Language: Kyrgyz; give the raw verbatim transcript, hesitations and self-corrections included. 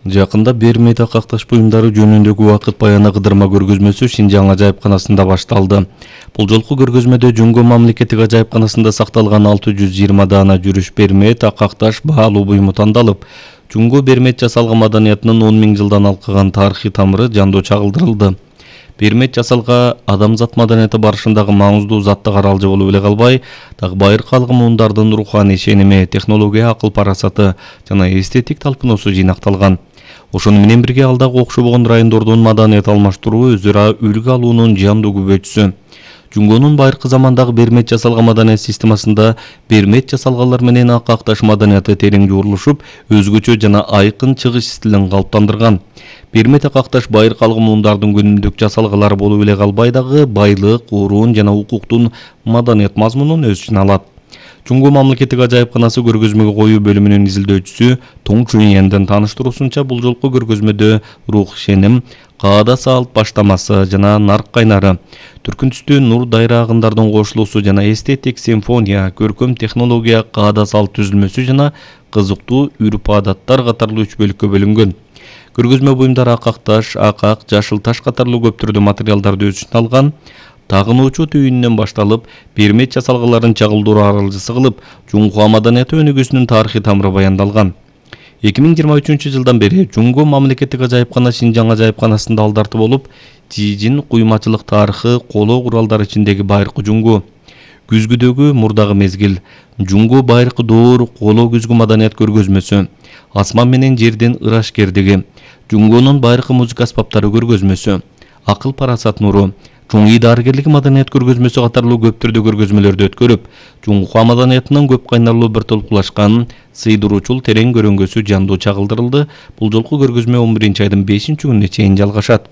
Жакында Бермей такакташ буюмдары жөнүндөгү убакыт баяны кыдырма көргөзмөсү Шинжаң ажайыпканасында башталды. Бул жолку көргөзмөдө Жумго мамлекеттик ажайыпканасында сакталган алты жүз жыйырма даана жүрүш Бермей такакташ баалуу буюму тандалып, Жумго Бермет жасалган маданиятынын он миң жылдан алкаган тарыхый тамыры жандоо чагылдырылды. Бермет жасалга адамзат маданияты барышындагы маңыздуу затты каралжы болуп эле калбай, дагы байыркы алгымундардын руханий ишеними, технология, акыл парасаты жана эстетик талпынуусу жыйнакталган. Ошону менен бирге ал дагы окшобогон райондордун маданият алмаштыруу, өз ара үлгү алуунун жандуу күбөчүсү. Жумгонун байыркы замандагы Бермет жасалган маданият системасында Бермет жасалганлар менен акакташ маданияты терең жуурулушуп, өзгөчө жана айкын чыгыш стилин калыптандырган. Бермет акакташ байыркы алгымундардын күнүмдүк жасалгалары болуп эле калбай дагы байлык, уруун жана укуктун маданият мазмунун өз ичине алат. Жумго мамлекеттик ажайыпканасы көргөзмөгө коюу бөлүмүнүн изилдөөчүсү Тоң Чуйендин тааныштыруусунча, бул жолку көргөзмөдө рух ишеним, каада салт баштамасы жана нарк кайнары, түркүн түстүү нур дайрагындардын кошулуусу жана эстетик симфония, көркөм технология, каада салт түзүлмөсү жана кызыктуу үрп адаттар катарлуу үч бөлүккө бөлүнгөн. Көргөзмө буюмдары акакташ, акак, жашыл таш катарлуу көп түрдүү материалдарды өз ичине алган. Тагынуучу түйүнүнөн башталып, Бермет жасалгаларын чагылдыруу аралжысы кылып, Жумго маданияты өнүгүүсүнүн тарыхый тамыры баяндалган. эки миң жыйырма үчүнчү жылдан бери Жумго мамлекеттик ажайыпкана Шинжаң ажайыпканасында алдарты болуп, жийжин куймачылык тарыхы, коло куралдар ичиндеги байыркы Жумго, күзгүдөгү мурдагы мезгил, Жумго байыркы доор, коло күзгү маданият көргөзмөсү, асман менен жердин ырашкердиги, Жумгонун байыркы музыка аспаптары көргөзмөсү, акыл парасат нуру, чоң дарыгерлик маданият көргөзмөсү катарлуу көп түрдүү көргөзмөлөрдү өткөрүп, Жумго маданиятынын көп кайнарлуу бир толкулашкан, сыйдыруучул терең көрөңгөсү жандуу чагылдырылды. Бул жолку көргөзмө он биринчи айдын бешинчи күнүнө чейин жалгашат.